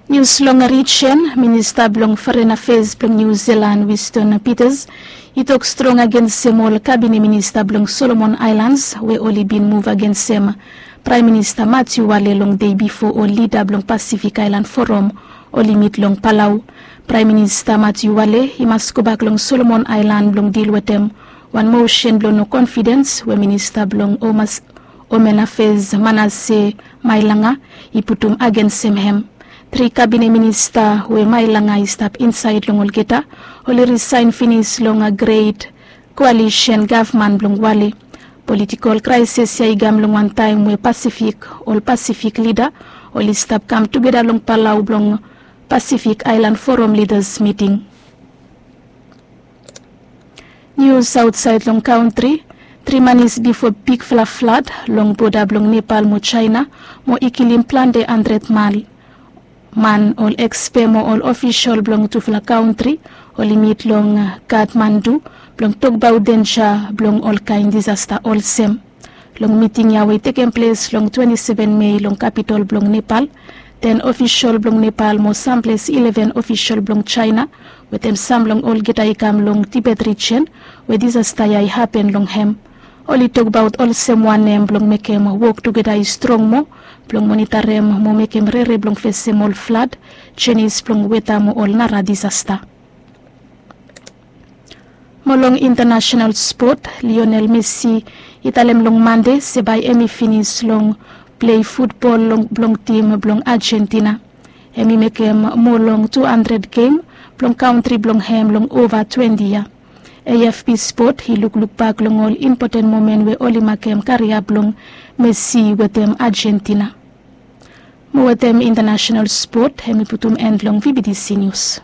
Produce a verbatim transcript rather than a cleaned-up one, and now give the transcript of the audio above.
Nius long rijen, minista blong foren afes blong Niu Zilan, Winston Peters, i tok strong agensem ol kabine minista blong Solomon Aelans we oli bin muv agensem Praem Minista Matiu Wale long dei bifo ol lida blong Pasifik Aelan Foram oli mit long Palau. Praem Minista Matiu Wale i mas gobak long Solomon Aelan blong dil wetem wan mosen blong no konfidens we minista blong Home Affairs Manasseh Mailanga i putum agensem hem. Tri kabine minista we Mailanga i stap insaed long olgeta oli risaen finis long Great Koalisen gavman blong Wale. Politikol kraeses ya i kam long wan taem we Pasifik, ol Pasifik lida oli stap kam tugeta long Palau blong Pasifik Aelan Foram Lidas Miting. Nius aotsaed long kantri. Tri manis bifo bigfala flad long boda blong Nepal mo Jaena mo i kilim plante handred man, ol ekspe mo ol ofisol blong tufala kantri oli mit long Kathmandu blong tokbaot denja blong olkaen disasta olsem. Long miting ya we i tekem ples long twante seven Mei long kapitol blong Nepal, ten ofisol blong Nepal mo samples ileven ofisol blong Jaena wetem sam long olgeta i kam long Tibet rijen we disasta ya i hapen long hem. Oli tokbaot olsem wanem blong mekem wok tugeta i strong moa blong monitarem mo mekem rere blong fesem ol flad, jenis blong weta mo ol nara disasta. Mo long intanasenal spot, Lionel Messi i talem long Mande se bae hem i finis long plei futbol blong tim blong Ajentina. Hem i mekem moa long tu handred gem blong kantri blong hem long ova twante yia. A F P Spot i lukluk bak long ol impoten momen we oli makem karia blong Messi wetem Ajentina. Mo wetem intanasenal spot hem i putum en long V B T C Nius.